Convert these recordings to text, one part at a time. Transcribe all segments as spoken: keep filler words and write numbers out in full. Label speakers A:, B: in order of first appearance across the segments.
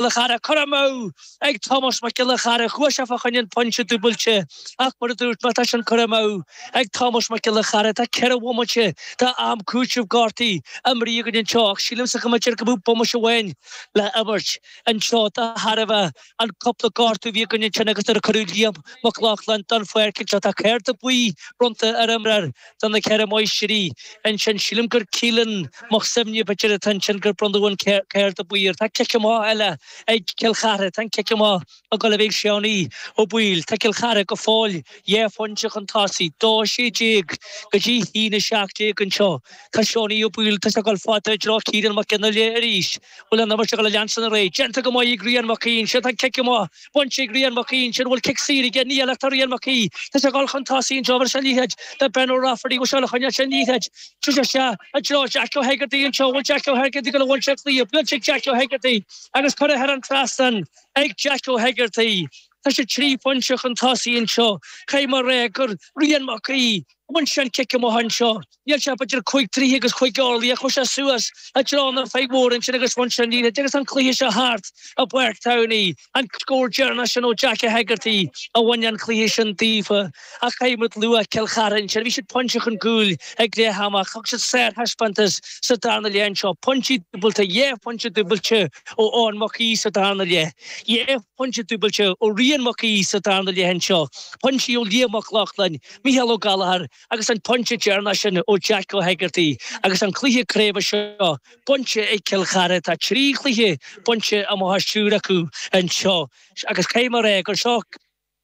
A: Giolla Chearra curtha amú ag Tomás Mac Giolla Chearra chuaigh sé fá choinne an pointe dúbailte ach mar a dúirt mé tá sin curtha amú ag Tomás Mac Giolla Chearra tá ceithre bhomaite de am cúitimh gortaithe imeartha againn anseo ach sílimse go mb'fhéidir go mbeadh bomaite amháin le himirt anseo de thairbhe an cúpla gortú a bhí againn ansin agus nuair a cuireadh Liam Mac Lochlainn den pháirc anseo tá cárta buí bronnta ar imreoir de na Ceithre Máistrí ansin sílim gur Keelan Mac Suibhne b'fhéidir atá ansin gur bronnadh an cárta buí air. Tá cic amach eile ag Cill Chartha, tá an cic amach ag dul a bheith ag Seánie Ó Baoill. Tá Cill Chartha go fóill dhá phointe chun tosaigh, dó sé déag go dtí haon a seacht déag anseo. Tá Seánie Ó Baoill, tá sé ag dul fada i dtreo Ciarán Mac Fhionnghaile arís. Bhfuil an imirt ag dul a leanstan ar aghaidh? Déanta go maith ag Rian Mac Aoidh ansin. Tá an cic amach bainte ag Rian Mac Aoidh ansin. Bhfuil cic saor aige? Níl ach tá Rian Mac Aoidh. Tá sé ag dul chun tosaigh anseo. Bhfuil sé an liathróid do Ben O'Rafferty? Bhfuil sé ag dul a choinneáil sé an liathróid? Tá sé isteach i dtreo Jack O'Hegarty anseo. Bhfuil Jack O'Hegarty ag dul a bhaint sé cluiche? Buailte ag Jack O'Hegarty agus curtha thar an trasnán ag Jack O'Hegarty. Tá sé trí phointe chun tosaigh anseo. Caithfidh mé a rá gur Rian Mac Aoidh a bhain sé an cic amach anseo. Níl sé b'fhéidir cúig troigh agus cúig orlaí ach chuaigh sé suas i dtreo na feadh mhór ansin agus bhain sé an liathróid agus an cluiche seo thart i bPáirc Towney. An scór deireanach sin ó Jack O'Hegarty a bhain an cluiche sin daofa. Ach caithfidh muid lua Cill Chartha ansin. Bhí siad pointe chun cúil ag leath ama ach thug siad sárthaispeántas sa darna leath anseo. Pointí dúbailte, dhá phointe dúbailte ó Eoin Mac Aoidh sa darna leath. Dhá phointe dúbailte ó Rian Mac Aoidh sa darna leath anseo. Pointí ó Liam Mac Lochlainn, Micheál Ó Gallchóir agus an pointe deireanach sin ó Jack O'Hegarty agus an cluiche craoibhe seo bainte ag Cill Chartha. Tá trí chluiche bainte amach as triúr acu anseo agus caithfidh mé a rá gur seo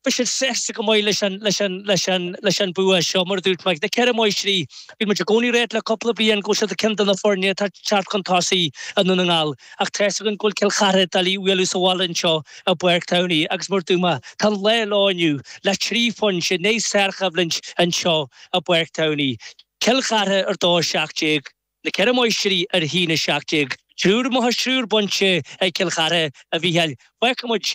A: Beidh siad sásta go maith leis an leis an leis an leis an bua seo mar a dúirt mé. Na Ceithre Máistrí, bíonn muid i gcónaí ag ráit le cúpla bliain go bhfuil siad ceann de na foirne atá ag teacht chun tosaigh i nDún na nGall ach tá 'fhios againn go bhfuil Cill Chartha doiligh a bhualadh sa bhaile anseo i bPáirc Towney agus mar a dúirt mé tá an lá leo inniu le trí phointe i ndiaidh sárchoimhlint anseo i bPáirc Towney. Cill Chartha ar dó a seacht déag, na Ceithre Máistrí ar a haon a seacht déag. Triúr amach as triúr bainte ag Cill Chartha, a Mhícheáil. Fágfaidh muid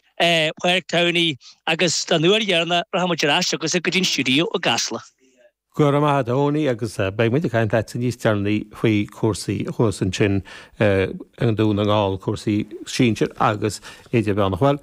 A: Páirc Towney agus don uair dheireanach rachaidh muid ar ais chugatsa go dtí an stiúideo i gCasla.
B: Go raibh maith agat a Thony agus beidh muid ag caint leatsa níos deireanaí faoi chúrsaí thuas ansin i nDún na nGall, cúrsaí sinsir agus idirmheánach. Bhuel,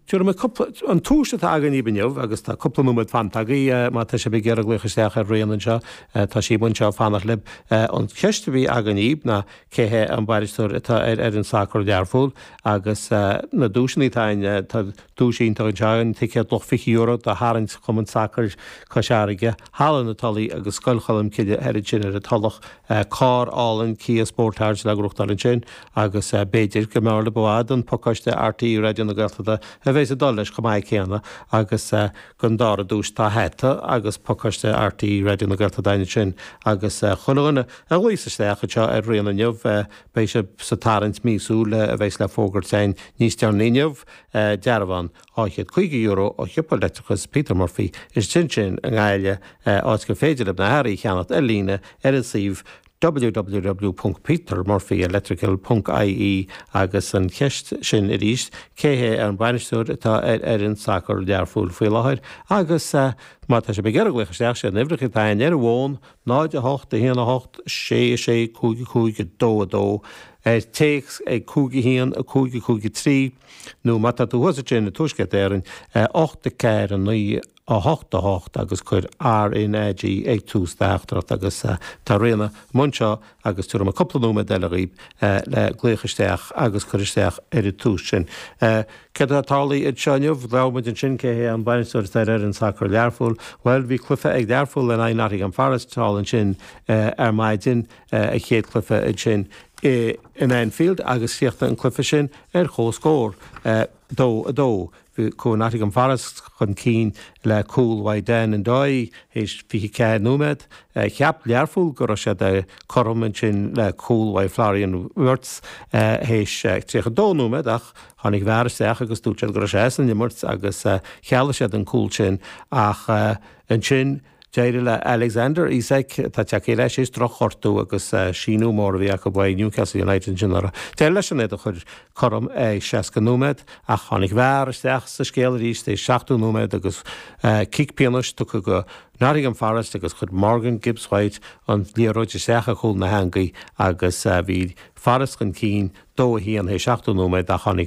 B: tabharfaidh mé cúpla, an tomhas atá againn daoibh inniu agus tá cúpla nóiméad fanta agaibh má tá sibh ag iarraidh glaoch isteach ar Ríona anseo, tá sí anseo ag fanacht libh. An cheist a bhí againn daoibh ná cé hé an bainisteoir atá ar fhoireann sacair Learpholl agus na duaiseanna atá againn, tá duais iontach anseo againn, ticéad luach fiche euro do tharraingt Chumann Sacair Cois Fharraige, Halla na Tulaí agus Scoil Cholmcille thoir ansin ar an Tulach, carr álainn Kia Sportage le gnóthachtáil ansin agus b'fhéidir go mb'fhearr libh i bhfad an pacáiste RTÉ Raidió na Gaeltachta a bheas ag dul leis chomh maith céanna agus don dara duais tá hata agus pacáiste RTÉ Raidió na Gaeltachta ansin agus chuile dhuine a ghlaos isteach anseo ar Ríona inniu beidh sibh sa tarraingt míosúil a bheas le fógairt againn níos deireanaí inniu. Dearbhán dhá chéad caoga euro ó shiopa leictreachais Peter Murphy istigh ansin i nGaillimh, áit gur féidir libh na hearraí a cheannacht ar líne ar an suíomh www ponc petermurphyelectrical ponc ie agus an cheist sin arís, cé hé an bainisteoir atá ar fhoireann sacair Learphoill faoi láthair? Agus má tá sibh ag iarraidh glaoch isteach, sé an uimhir atá againn ar an bhfón, náid a hocht, a haon a hocht, sé a sé, cúig a cúig, a dó a dó, ar téacs ag cúig a haon, a cúig a cúig a trí, nó má tá tú thuas ansin i dTuaisceart Éireann, ocht a ceathair a naoi a hocht a hocht agus cuir RnaG ag tús do theachtaireacht agus tá Ríona i mbun seo agus tabharfaidh mé cúpla nóiméad eile dhaoibh le glaoch isteach agus cur isteach ar an tomhas sin. Céard atá tarlaithe anseo inniu? Labhair muid ansin cé hé an bainisteoir atá ar fhoireann sacair Learpholl. Bhuel, bhí cluiche ag Learpholl in aghaidh Nottingham Forest thall ansin ar maidin, a chéad chluiche ansin in Anfield agus chríochnaigh an cluiche sin ar comhscór, dó a dó. Chuaigh Nottingham Forest chun cinn le cúl uaidh Dan Ndoye théis fiche ceathair nóiméad. Cheap Learpholl go raibh siad cothrom ansin le cúl uaidh Florian Wirtz théis tríocha dó nóiméad ach tháinig VAR isteach agus dúirt siad go raibh sé as an imirt agus chealaigh siad an cúl sin ach ansin D'éirigh le Alexander Isak tá teacht leis is drochghortú agus síniú mór a bhí acu ó Newcastle United sin orthu. D'éirigh leis an é a chur cothrom é seasca nóiméad ach tháinig VAR isteach sa scéal arís é seachtó nóiméad agus cic pionóis tugtha go Nottingham Forest agus chuir Morgan Gibbs White an liathróid isteach i gcúl na heangaí agus bhí Forest chun cinn dó a haon é seachtó nóiméad ach tháinig